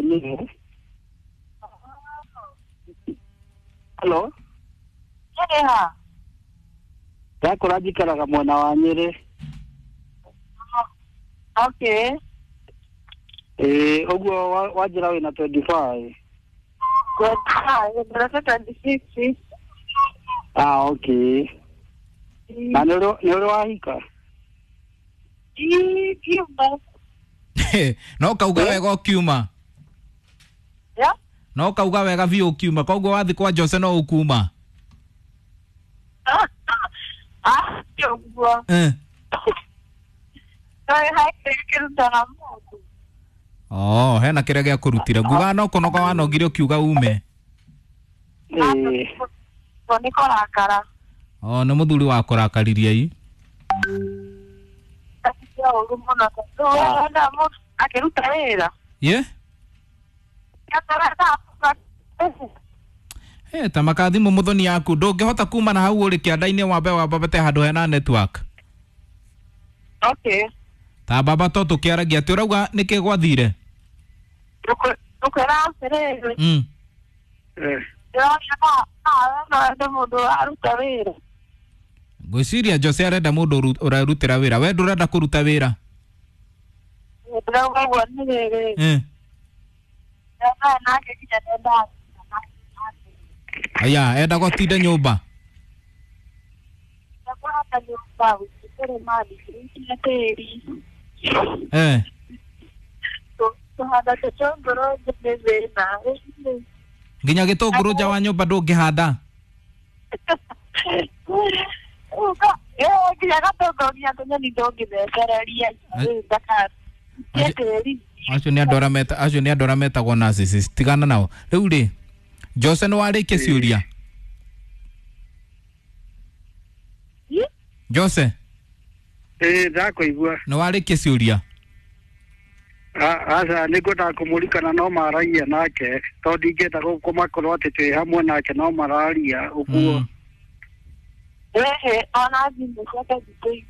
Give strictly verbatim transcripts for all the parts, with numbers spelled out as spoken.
Nyĩrĩ. Halo. Nyĩrĩ ha? Ndakũra njikaraga mwena wa Nyĩrĩ. Okay. Ĩĩ ũguo wanjĩra wĩna twenty five. Twenty five, ndĩreka twenty six. Ah, okay. Na nĩ ũrĩ wahika? Ii, kiuma. No kauga wega ũkiuma. Yeah? No kauga wega biũ ũkiuma, koguo wathi kwa Jose no ũkuma. Ah, ũguo. Eh. No haikĩrutaga mũndũ. Oh, hena kĩrĩa gĩa kũrutire. Nguga no kũnoga wanogire ũkiuga ume. Ĩĩ. Nĩ kũrakara. Oh, nĩ mũthuri wa kũrakaririe i. Cia ũru mũno tondũ wenda mũndũ akĩruta wĩra. Ye? Hey, ta makathimũ mũthoni yaku ndũngĩhota kuma na hau ũrĩ kĩanda-inĩ wambe wambabate handũ hena network. Okay. Ta baba to tũkĩaragia atĩ ũrauga nĩkĩ gwathire? Ngũkwĩra atĩrĩrĩ. Mm. Eh. Ndĩrona no no wende mũndũ ũraruta wĩra. Ngwĩciria Jose arenda mũndũ ũrarutĩra wĩra. We ndũrenda kũruta wĩra? Ndĩrauga ũguo nĩ rĩrĩ. Eh. Ndĩrona nake nginya ndendaga. Aya, enda gũtinda nyũmba. Kũhanda nyũmba, kũrĩma, gũikia tĩri. Eh. Kũhanda tũtũngũrũ nĩ thĩna. Nginya gĩtũngũrũ nja wa nyũmba ndũngĩhanda? Nginya gatũngũrũ nginya tũnyeni ndũngĩthecereria. Tĩri. Acio nĩ andũ arĩa meta acio nĩ andũ arĩa metagwo narcissist. Tigana nao. Rĩu rĩ, Jose nĩ warĩkia ciũria? Jose? Ĩĩ ndakũigua. Nĩ warĩkia ciũria? Aca nĩ ngwendaga kũmũririkana no maragia nake tondũ ndingĩenda kũmakorwo atĩ twĩ hamwe nake no mararia ũguo. Ĩhĩ, ona thimũ ciake nditũirie.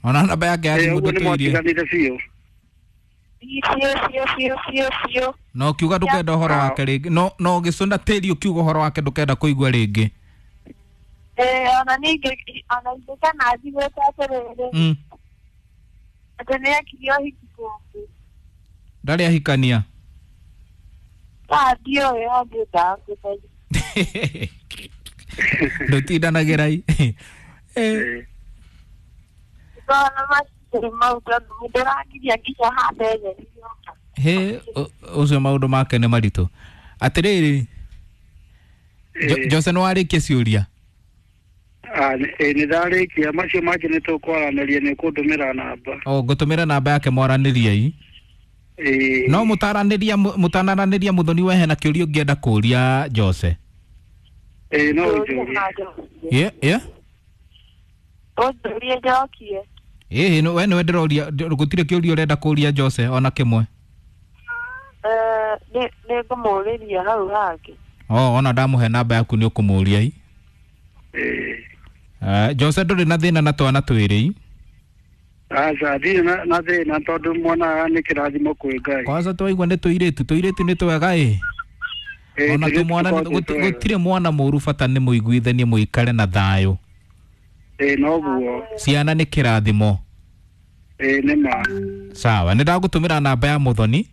Ona namba yake ya thimũ Ũguo nĩ ndũtũirie. mwatiganire biũ. Biũ biũ biũ biũ biũ. Na ũkiuga ndũkenda ũhoro wake rĩngĩ. No no ũgĩcũna tĩri ũkiuga ũhoro wake ndũkenda kũigua rĩngĩ. Ĩĩ ona ningĩ ona ingĩkana njiguĩte atĩrĩrĩ. Mm. Atĩ nĩ ekire ũhiki kũngĩ. Ndarĩ ahikania? Ah, ndiũĩ angĩendaga kũmenya. Ndũtindanagĩra i. Eh. Ngona matirĩ mau tondũ mũndũrangiria nginya hande nyeni nyũmba. Hĩ, ũcio maũndũ make nĩ maritũ. Atĩrĩrĩ, Jose nĩ warĩkia ciũria? Ĩĩ nĩ ndarĩkia, macio mangĩ nĩ tũkwaranĩria nĩ ũkũndũmĩra namba. O ngũtũmĩra namba yake mwaranĩrie i. Ĩĩ. No mũtaranĩria mũtanaranĩria mũthoni we hena kĩũria ũngĩenda kũũria Jose? Ĩĩ no ũnjũrie. Ye, ye? Ũnjũrie njokie. Ĩĩ we nĩwe ndĩroria, gũtirĩ kĩũria ũrenda kũũria Jose ona kĩmwe? Eh, nĩ ngũmũũrĩria hau hangĩ. Oh, ona ndamũhe namba yaku nĩ ũkũmũũria i. Ĩĩ. Uh, Jose ndũrĩ na thĩna na twana twĩrĩ i? Aca ndirĩ na na thĩna tondũ mwana nĩ kĩrathimo kwĩ Ngai. Kwanza twaigua nĩ tũirĩtu, tũirĩtu nĩ twega ĩ. Ona tũmwana gũtirĩ mwana mũũru bata nĩ mũiguithanie mũikare na thayũ. Ĩĩ noguo. Ciana nĩ kĩrathimo. Ĩĩ nĩ ma. Sawa, nĩ ndagũtũmĩra namba ya mũthoni.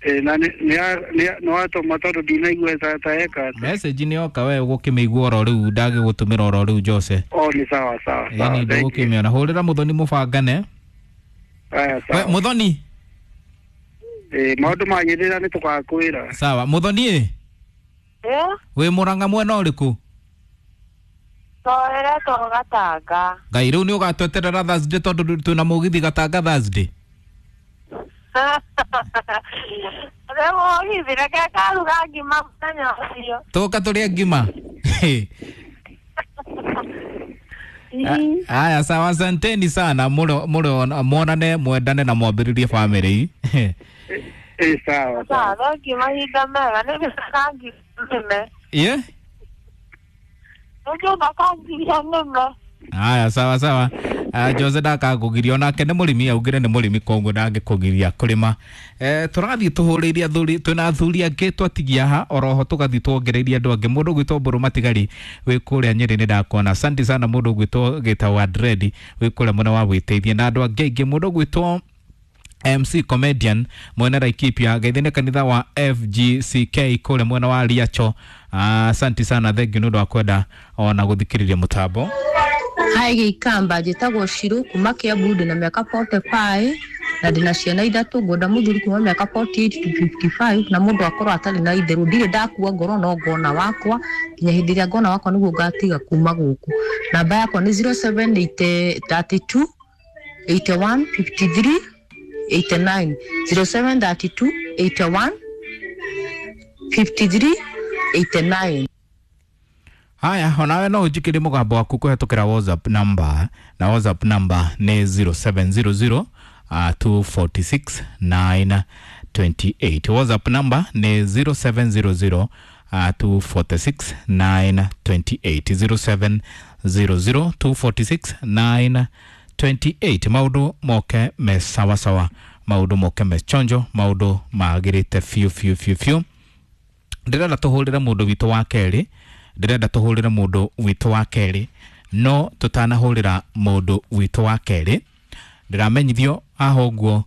Ĩĩ na nĩ nĩ watũma tondũ ndinaigua ta ta eka. Message nĩ yoka we ũgũkĩmĩigua oro rĩu ndagĩgũtũmĩra oro rĩu Jose. Oh nĩ sawa sawa sawa. Ĩĩ ndũgũkĩmĩona. Hũrĩra mũthoni mũbangane. Aya sawa. We mũthoni. Ĩĩ maũndũ magĩrĩra nĩ tũgakwĩra. Sawa, mũthoni ĩ? Ĩ? Wĩ Mũrang'a mwena ũrĩkũ? Tũreretwo Gatanga. Ngai rĩu nĩ ũgatweterera Thursday tondũ twĩna mũgithi Gatanga Thursday. Rĩu mũgithi reke ngaruga ngima mũthenya ũcio. Tũka tũrĩe ngima. Aya sawa, asanteni sana mũrĩ mwonane mwendane na mwambĩrĩrie family. Ĩĩ sawa. Sawa, thengiũ mahinda mega nĩ nginya nĩme. Ye? Nĩ nginya nĩme. Haya, sawa sawa. Uh, Jose ndakakũgiria onake nĩ mũrĩmi, augire nĩ mũrĩmi koguo ndangĩkũgiria kũrĩma. Eh, tũrathiĩ tũhũrĩire athuri, twĩna athuri angĩ twatigia ha oroho tũgathiĩ tuongereirie andũ angĩ. Mũndũ ũgwĩtwo Mbũrũ Matigari wĩ kũrĩa Nyĩrĩ nĩ ndakuona. Asante sana mũndũ ũgwĩtwo Gĩtaũ wa Dread wĩ kũrĩa mwena wa Wĩteithie na andũ angĩ aingĩ. Mũndũ ũgwĩtwo M C Comedian mwena Laikipia, geithine kanitha wa F G C K kũrĩa mwena wa Riacho. Asante sana, thank you nĩ ũndũ wa kwenda ona gũthikĩrĩria mũtambo. Hi Gĩikamba, njĩtagwo Shiru kuma Kiambu, ndĩna mĩaka forty-five na ndĩna ciana ithatũ. Ngwenda mũthuri kuma mĩaka forty-eight to fifty-five na mũndũ akorwo atarĩ na itherũ. Ndirĩ ndakua ngoro no ngona wakwa nginya hĩndĩ ĩrĩa ngona wakwa nĩguo ngatiga kuma gũkũ. Namba yakwa nĩ zero seven eight thirty-two eighty-one fifty-three eighty-nine, zero seven thirty-two eighty-one fifty-three eighty-nine. Haya, onawe no ũnjikĩrie mũgambo waku kũhetũkĩra WhatsApp number, na WhatsApp number nĩ zero seven zero zero, uh, two forty-six nine twenty-eight. WhatsApp number nĩ zero seven zero zero, uh, two forty-six nine twenty-eight, zero seven zero zero two forty-six nine twenty-eight. Maũndũ moke me sawa sawa, maũndũ moke me chonjo, maũndũ magĩrĩte biũ biũ biũ biũ. Ndĩrenda tũhũrĩre mũndũ witũ wa kerĩ, ndĩrenda tũhũrĩre mũndũ witũ wa kerĩ, no tũtanahũrĩra mũndũ witũ wa kerĩ ndĩramenyithio haha ũguo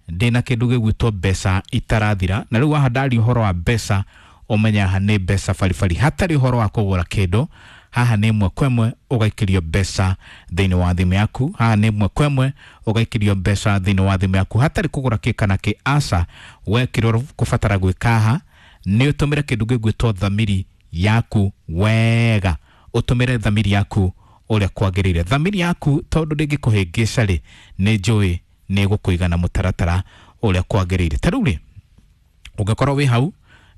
ndĩna kĩndũ gĩgwĩtwo mbeca itarathira. Na rĩu haha ndaria ũhoro wa mbeca, ũmenye haha nĩ mbeca baribari, hatarĩ ũhoro wa kũgũra kĩndũ. Haha nĩ ĩmwe kwa ĩmwe ũgaikĩrio mbeca thĩinĩ wa thimũ yaku, haha nĩ ĩmwe kwa ĩmwe ũgaikĩrio mbeca thĩinĩ wa thimũ yaku hatarĩ kũgũra kĩ kana kĩ. Aca, we kĩrĩa ũkũbatara gwĩka haha nĩ ũtũmĩre kĩndũ gĩgwĩtwo thamiri yaku wega, ũtũmĩre thamiri yaku ũrĩa kwagĩrĩire. Thamiri yaku tondũ ndĩngĩkũhĩngĩca rĩ, nĩ njũĩ nĩ ĩgũkũiga na mũtaratara ũrĩa kwagĩrĩire. Ta rĩu rĩ, ũngĩkorwo wĩ hau,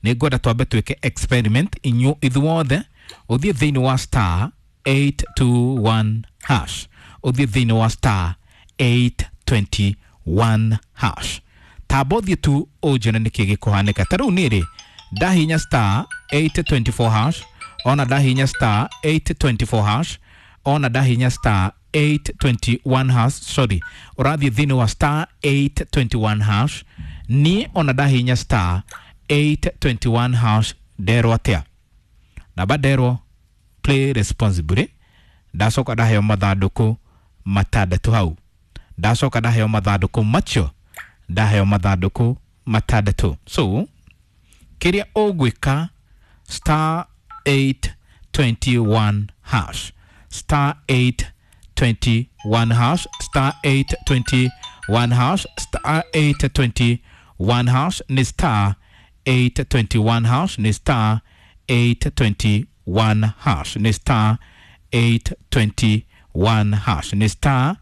nĩ ngwenda twambe twĩke experiment inyuĩ ithuothe. Ũthiĩ thĩinĩ wa star eight two one hash, ũthiĩ thĩinĩ wa star eight twenty-one hash, tamba ũthiĩ tu ũnjĩre nĩkĩ gĩkũhanĩka. Ta rĩu niĩ rĩ, ndahinya star eight twenty-four hash, ona ndahinya star eight twenty-four hash, ona ndahinya star eight twenty-one hash, sorry, ũrathiĩ thĩinĩ wa star eight twenty-one hash, niĩ ona ndahinya star eight twenty-one hash nderwo atĩa? Namba nderwo play responsibly, ndacoka ndaheo mathandũkũ matandatũ hau, ndacoka ndaheo mathandũkũ macio, ndaheo mathandũkũ matandatũ. So kĩrĩa ũgwĩka, star eight twenty-one hash, star eight twenty-one hash, star eight twenty-one hash, star eight twenty-one hash nĩ star eight twenty-one hash, nĩ star eight twenty-one hash, nĩ star eight twenty-one hash, nĩ star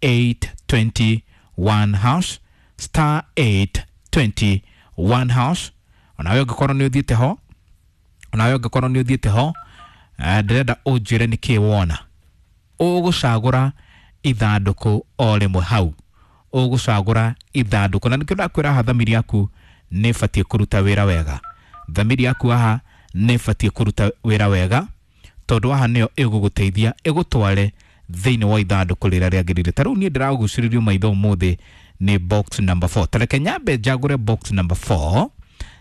eight twenty-one hash, star eight twenty-one hash. Onawe ũngĩkorwo nĩ ũthiĩte ho, onawe ũngĩkorwo nĩ ũthiĩte ho, ndĩrenda ũnjĩre nĩkĩĩ wona. Ũgũcagũra ithandũkũ o rĩmwe hau, ũgũcagũra ithandũkũ, na nĩkĩo ndakwĩra haha thamiri yaku nĩ ĩbatiĩ kũruta wĩra wega. Thamiri yaku haha nĩ ĩbatiĩ kũruta wĩra wega, tondũ haha nĩyo ĩgũgũteithia ĩgũtware thĩinĩ wa ithandũkũ rĩrĩa rĩagĩrĩire. Ta rĩu niĩ ndĩragucĩrĩrio maitho ũmũthĩ nĩ box number four. Ta reke nyambe njagũre box number four,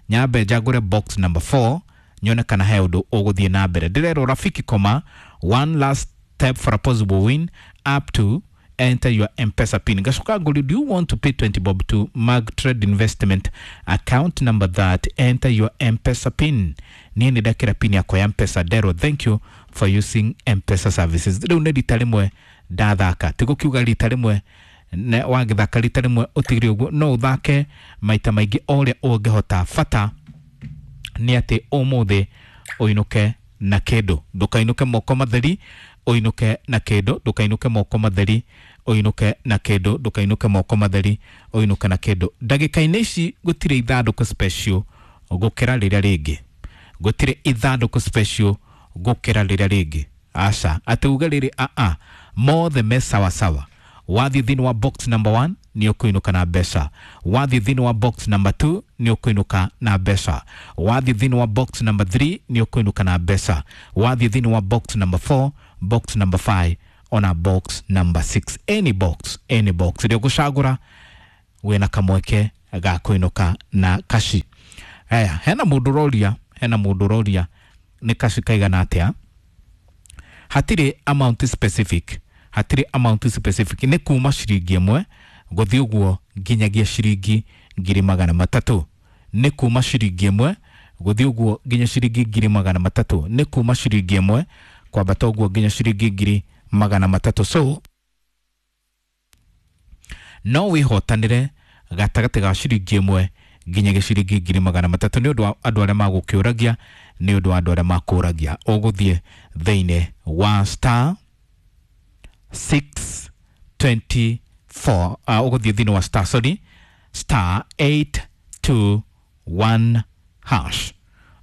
nyambe njagũre box number four nyone kana he ũndũ ũgũthiĩ na mbere. Ndĩrerwo Rafiki koma one last step for a possible win up to enter your M-Pesa pin. Ngacoka ngũrio, do you want to pay twenty bob to Mag Trade Investment account number that enter your M-Pesa pin? Niĩ nĩ ndekĩra pin yakwa ya M-Pesa. Ndero, thank you for using M-Pesa services. Rĩu nĩ rita rĩmwe ndathaka, ti gũkiuga rita rĩmwe wagĩthaka rita rĩmwe ũtigire ũguo, no ũthake maita maingĩ o ũrĩa ũngĩhota. Bata nĩ atĩ ũmũthĩ ũinũke na kĩndũ, ndũkainũke moko matheri, ũinũke na kĩndũ, ndũkainũke moko matheri, ũinũke na kĩndũ, ndũkainũke moko matheri, ũinũke na kĩndũ. Ndagĩka-inĩ ici gũtirĩ ithandũkũ special gũkĩra rĩrĩa rĩngĩ, gũtirĩ ithandũkũ special gũkĩra rĩrĩa rĩngĩ. Aca atĩ uge rĩrĩ aa, mothe me sawa sawa. Wathiĩ thĩinĩ wa box number one nĩ ũkũinũka na mbeca, wathiĩ thĩinĩ wa box number two nĩ ũkũinũka na mbeca, wathiĩ thĩinĩ wa box number three nĩ ũkũinũka na mbeca, wathiĩ thĩinĩ wa box number four, box number five ona box number six. Any box, any box ĩrĩa ũgũcagũra wĩna kamweke ga kũinũka na kaci. Aya, hena mũndũ ũroria, hena mũndũ ũroria nĩ kaci kaigana atĩa. Hatirĩ amount specific, hatirĩ amount specific, nĩ kuma ciringi ĩmwe gũthiĩ ũguo nginyagia ciringi ngiri magana matatũ. Nĩ kuma ciringi ĩmwe gũthiĩ ũguo nginya ciringi ngiri magana matatũ. Nĩ kuma ciringi ĩmwe kwambata ũguo nginya ciringi ngiri magana matatũ. So no wĩhotanĩre gatagatĩ ga ciringi ĩmwe nginyagia ciringi ngiri magana matatũ. Nĩ ũndũ wa andũ arĩa magũkĩũragia, nĩ ũndũ wa andũ arĩa makũragia, ũgũthiĩ thĩinĩ wa star six twenty four, uh, ũgũthiĩ thĩinĩ wa star, sorry, star eight two one hash.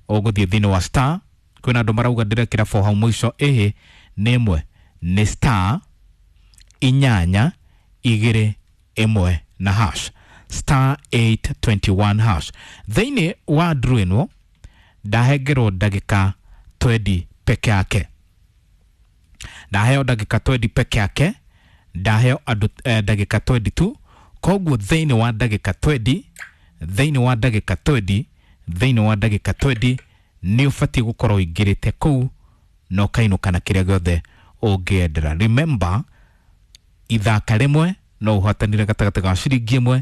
Ũgũthiĩ thĩinĩ wa star, kwĩna andũ marauga ndĩrekĩra four hau mũico, ĩhĩ nĩ ĩmwe, nĩ star inyanya igĩrĩ ĩmwe na hash, star eight twenty one hash. Thĩinĩ wa draw ĩno ndahengerwo ndagĩka twenty peke yake, ndaheo ndagĩka twenty peke yake, ndaheo andũ eh, ndagĩka twenty two. Koguo thĩinĩ wa ndagĩka twenty, thĩinĩ wa ndagĩka twenty, thĩinĩ wa ndagĩka twenty nĩ ũbatiĩ gũkorwo ũingĩrĩte kũu na ũkainũka na kĩrĩa gĩothe ũngĩendera. Remember, ithaka rĩmwe no ũhotanire gatagatĩ ga ciringi ĩmwe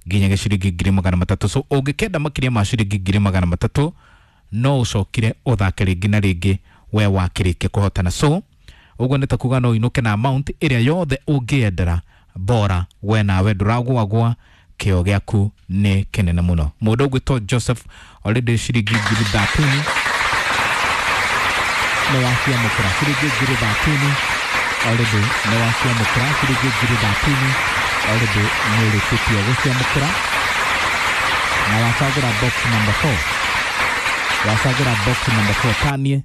nginyagia ciringi ngiri magana matatũ. So ũngĩkenda makĩria ma ciringi ngiri magana matatũ no ũcokire ũthake rĩngĩ na rĩngĩ we wakĩrĩkia kũhotana. So ũguo nĩ ta kuga no ũinũke na amount ĩrĩa yothe ũngĩendera, bora we nawe ndũragũagũa, kĩo gĩaku nĩ kĩnene mũno. Mũndũ ũgwĩtwo Joseph already ciringi ngiri thirteen nĩ waciamũkĩra, ciringi ngiri thirteen already nĩ waciamũkĩra, ciringi ngiri thirteen already nĩ ũrĩkĩtie gũciamũkĩra, na wacagũra box number four, wacagũra box number four tanie,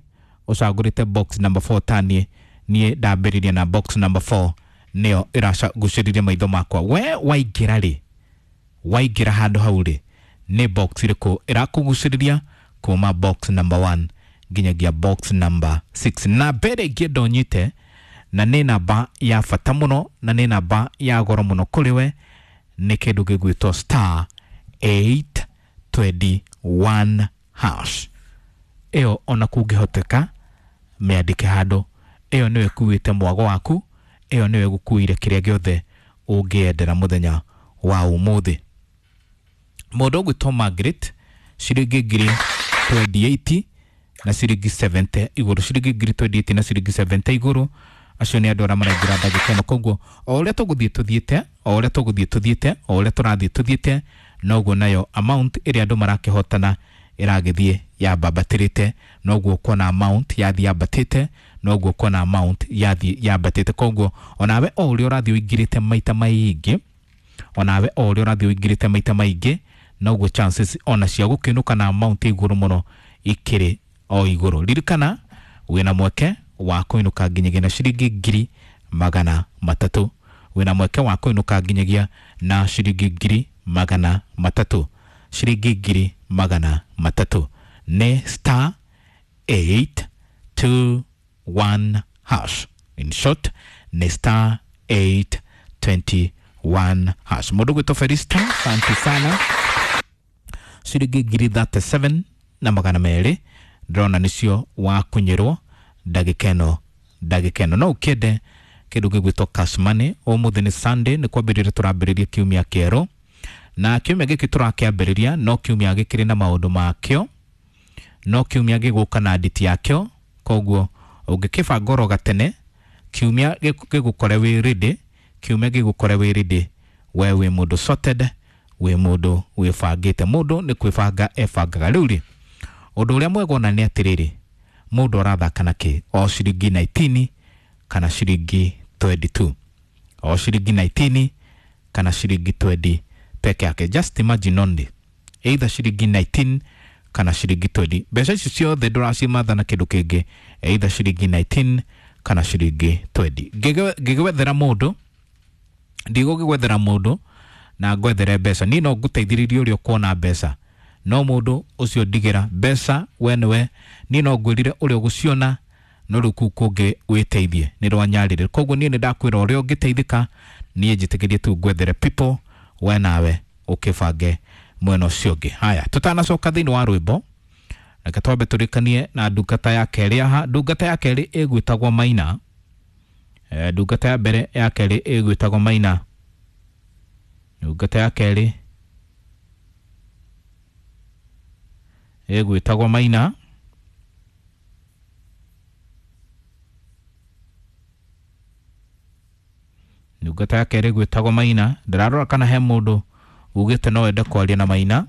ũcagũrĩte box number four tanie, niĩ ndambĩrĩria na box number four nĩyo ĩragucĩrĩria maitho makwa. We waingĩra rĩ, waingĩra handũ hau rĩ, nĩ box ĩrĩkũ ĩrakũgucĩrĩria kuma box number one nginyagia box number six? Na mbere ingĩenda ũnyite, na nĩ namba ya bata mũno na nĩ namba ya goro mũno kũrĩ we, nĩ kĩndũ gĩgwĩtwo star eight twenty one hash. Ĩyo ona kũngĩhoteka mĩandĩke handũ, ĩyo nĩyo ĩkuĩte mwago waku, ĩyo nĩyo ĩgũkuĩire kĩrĩa gĩothe ũngĩendera mũthenya wa ũmũthĩ. Mũndũ ũgwĩtwo Margaret ciringi ngiri twenty eight na ciringi seventy igũrũ, ciringi ngiri twenty eight na ciringi seventy igũrũ. Acio nĩ andũ arĩa maraingĩra ndagĩka ĩno. Koguo o ũrĩa tũgũthiĩ tũthiĩte, o ũrĩa tũgũthiĩ tũthiĩte, o ũrĩa tũrathiĩ tũthiĩte, noguo nayo amount ĩrĩa andũ marakĩhotana ĩragĩthiĩ yambambatĩrĩte, noguo ũkuona amount yathiĩ yambatĩte, noguo ũkuona amount yathiĩ yambatĩte. Koguo onawe o ũrĩa ũrathiĩ ũingĩrĩte maita maingĩ, onawe o ũrĩa ũrathiĩ ũingĩrĩte maita maingĩ, noguo chances ona cia gũkĩinũka na amount igũrũ mũno ikĩrĩ o igũrũ. Ririkana wĩna mweke wa kũinũka nginyagia na ciringi ngiri magana matatũ, wĩna mweke wa kũinũka nginyagia na ciringi ngiri magana matatũ, ciringi ngiri magana matatũ nĩ star eight two one hash. In short nĩ star eight twenty one hash. Mũndũ gwĩtwo Felista, asante sana, ciringi ngiri thirty seven na magana merĩ ndĩrona nĩcio wakunyĩrwo ndagĩka ĩno, ndagĩka ĩno. No ũkĩende kĩndũ gĩgwĩtwo cash money. Ũmũthĩ nĩ Sunday, nĩ kwambĩrĩria tũrambĩrĩria kiumia kĩerũ, na kiumia gĩkĩ tũrakĩambĩrĩria no kiumia gĩkĩrĩ na maũndũ makĩo, no kiumia gĩgũka na nditi yakĩo. Koguo ũngĩkĩbanga oro gatene, kiumia gĩgũkore wĩ ready, kiumia gĩgũkore wĩ ready, we wĩ mũndũ sorted, wĩ mũndũ wĩbangĩte. Mũndũ nĩ kwĩbanga ebangaga. Rĩu rĩ, ũndũ ũrĩa mwega ona nĩ atĩrĩrĩ, mũndũ arathaka na kĩ? O ciringi nineteen kana ciringi twenty two, o ciringi nineteen kana ciringi twenty peke yake. Just imagine only, either ciringi nineteen kana ciringi twenty. Mbeca ici ciothe ndũracimatha na kĩndũ kĩngĩ, either ciringi nineteen kana ciringi twenty. Ngĩgwethera mũndũ, ndigũgĩgwethera mũndũ na ngwethere mbeca, niĩ no ngũteithĩrĩrie ũrĩa ũkuona mbeca, no mũndũ ũcio ndigĩra mbeca we nĩwe, niĩ no ngwĩrire ũrĩa ũgũciona, No rĩu kũu kũngĩ wĩteithie nĩ rwa nyarĩrĩ. Koguo niĩ nĩ ndakwĩra ũrĩa ũngĩteithĩka, niĩ njĩtĩkĩrie tu ngwethere people, we nawe ũkĩbange mwena ũcio ũngĩ. Haya, tũtanacoka thĩinĩ wa rwĩmbo, reke twambe tũrĩkanie na ndungata ya kerĩ haha. Ndungata ya kerĩ ĩgwĩtagwo Maina. Eh, ndungata ya mbere ya kerĩ ĩgwĩtagwo Maina. Ndungata ya kerĩ ĩgwĩtagwo Maina. Ndungata ya kerĩ ĩgwĩtagwo Maina. Ndĩrarora kana he mũndũ ugĩte no ende kwaria na Maina.